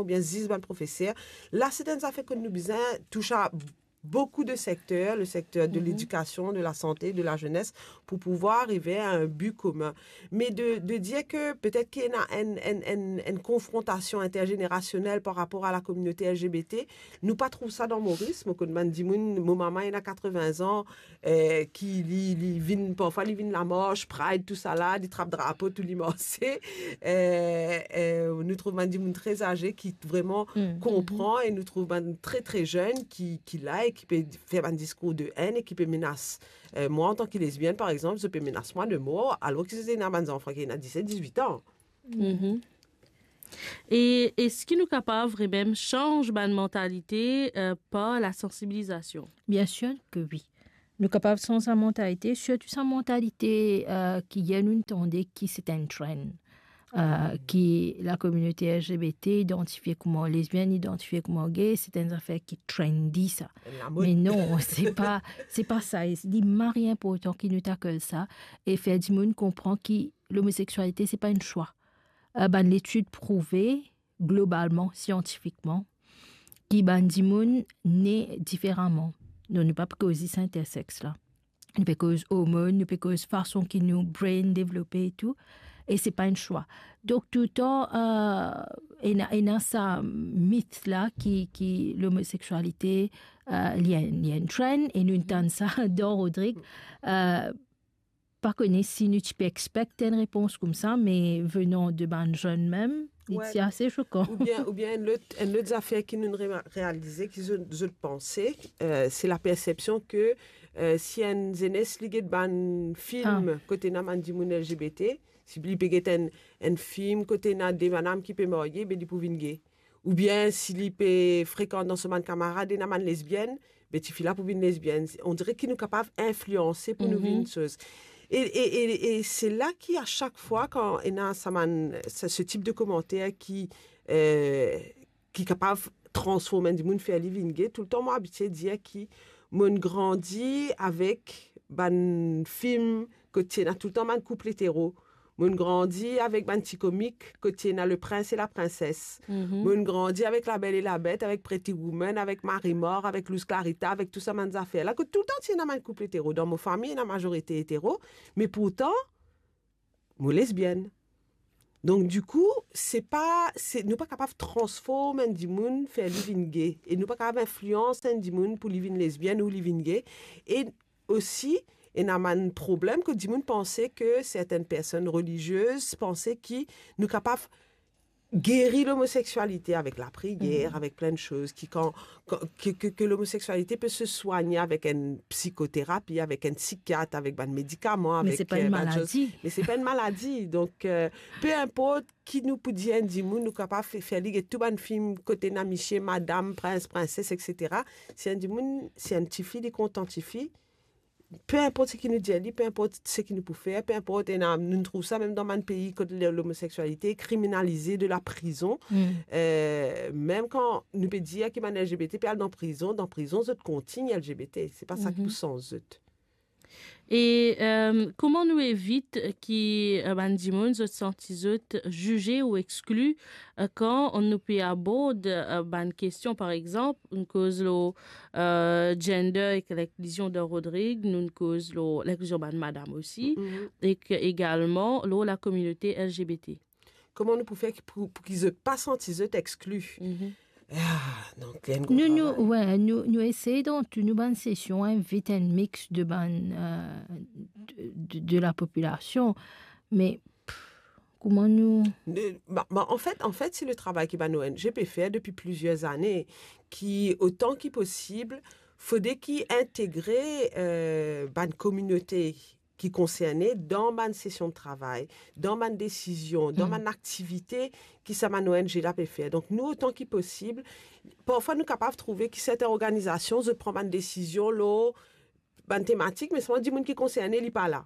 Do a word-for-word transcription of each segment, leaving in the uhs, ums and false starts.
oubien zis bann profeser. La, se enn zafer kot nou bizin touche a boukou de sekter, le sekter de ledikasion, de lasante, de lazenes, pou pouvwar arive a enn bi komin. Me de, de dir ke petet ki ena enn, enn, enn, enn konfrontasion interzenerasionel par rapor a lakominote L G B T, nou pa trouv sa dan Moris. Mo konn bann dimoun, mo mama ena katrevin an, eh, ki li, li vinn, parfwa li vinn lamars, Pride, tousala, li trap drapo, tou li marse. Eh, eh, nou trouv bann dimoun tre aze ki vreman konpran, e nou trouv bann tre, tre zenn ki, ki la e ki pe fer bann diskour de enn e ki pe menas, eh, mwa, antan ki lesbienn, par exanp, zot pe menas mwa de mor, alor ki zot ena bann zanfan ki ena diset, dizwit an. Mhm. E eski nou kapav vremem sanz bann mantalite, eh, par lasansibilizasion? Biensir ke wi. Nou kapav sanz sa mantalite, sirtou sa mantalite, eh, ki yer nou tande ki se enn trend, eh, ki lakominote L G B T idantifie kouma lesbienn, idantifie kouma gay, se enn zafer ki trendy sa. Enn lamod. Me non, se pa, se pa sa. E li mari inportan ki nou tackle sa e fer dimoun konpran ki lomoseksualite, se pa enn swa. Eh, bann letid prouve, globalman, siantifikman, ki bann dimoun ne diferaman. Donk, nou pa pe koz zis intersex la. Nou pe koz ormonn, nou pe koz fason ki nou brain devlope e tou. E se pa enn swa. Donk, toultan, eh, ena, ena sa mit la ki, ki lomoseksualite, eh, li enn, li enn trend, e nou tann sa dan Rodrig. Eh, pa kone si nou ti pe expect enn repons koumsa, me venan de bann zenn mem, li ti ase sokan. Oubien, oubien enn lot, enn lot zafer ki nou re-, realize, ki zot, zot panse, eh, se lapersepsion ke, eh, si enn zenes li get bann fim kot ena bann dimoun L G B T, si li pe get enn, enn fim kot ena de madam ki pe marye, be li pou vinn gay. Oubien si li pe frekant dan so bann kamarad ena bann lesbienn, be tifi la pou vinn lesbienn. On dire ki nou kapav inflianse pou nou vinn soz. E, e, e, e se la ki, a sak fwa, kan ena sa bann, se, se tip de komanter ki, eh, ki kapav transform enn dimoun, fer li vinn gay, toultan mo abitie dir ki mo'nn grandi avek bann fim kot ti ena toultan bann koup etero. Mo'nn grandi avek bann ti komik kot ti ena Le Prince et la Princesse. Mo'nn grandi avek La Belle et la Bête, avek Pretty Woman, avek Marie Mort, avek Luz Clarita, avek tou sa bann zafer la, kot toultan ti ena bann koup etero. Dan mo fami, ena mazorite etero, me pourtan, mo lesbienn. Donk, dikou, se pa, se, nou pa kapav transform enn dimoun, fer li vinn gay. E nou pa kapav inflians enn dimoun pou li vinn lesbienn ou li vinn gay. E osi, ena bann problem kot dimoun panse ke sertenn personn reliziez panse ki nou kapav geri lomoseksualite avek lapriyer, avek plin de soz, ki kan, kan, ke, ke, ke lomoseksualite pe se swagne avek enn psikoterapi, avek enn psikiat, avek bann medikaman, avek, eh, bann soz. Me se pa enn maladi. Me se pa enn maladi. Donk, eh, pe inport ki nou pou dir enn dimoun, nou kapav fe-, fer li get tou bann fim kot ena misie, madam, prins, prinses, et cetera. Si enn dimoun, si enn tifi, li kontan tifi, pe inport seki nou dir li, pe inport seki nou pou fer, pe inport, ena, nou trouv sa mem dan bann pei kot le-, lomoseksualite kriminalize, de la prizon. Eh, mem kan nou pe dir ki bann L G B T pe al dan prizon, dan prizon zot kontign L G B T. Se pa sa ki pou sanz zot. E, eh, kouma nou evit ki, eh, bann dimoun zot santi zot zize ou exkli, eh, kan nou pe abord, eh, bann kestion, par exanp, nou koz lor, eh, gender ek linklizion dan Rodrig, nou koz lor linklizion bann madam osi, ek egalman lor lakominote L G B T. Kouma nou pou fer ki, pou, pou ki zot pa santi zot exkli? Ah, donk, enn gro travay. Nou, nou, we, nou, nou esey dan tou nou bann sesion invit enn mix de bann, eh, de, de, de lapopilasion, me, pff, kouma nou... Ne, ba, ba, anfet, anfet, se le travay ki bann O N G pe fer depi plizier zane, ki, otan ki posib, fode ki integre, eh, bann kominote ki konserne dan bann sesion de travay, dan bann desizion, dan bann aktivite ki sa bann O N G la pe fer. Donk, nou, otan ki posib, parfwa nou kapav trouve ki serten organizasion, zot pran bann desizion lor bann tematik, me selman dimoun ki konserne, li pa la.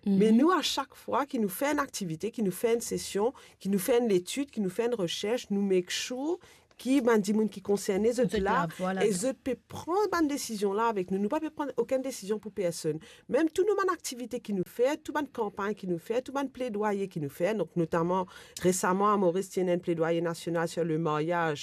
Me nou, a sak fwa ki nou fer enn aktivite, ki nou fer enn sesion, ki nou fer enn letid, ki nou fer enn resers, nou make sure ki bann dimoun ki konserne, zot Zot la, la, vwala. E zot pe pran bann desizion la avek nou. Nou pa pe pran okenn desizion pou personn. Mem tou nou bann aktivite ki nou fer, tou bann kanpagn ki nou fer, tou bann pledwaye ki nou fer, donk notaman resaman a Moris ti ena enn pledwaye nasional sur le mariage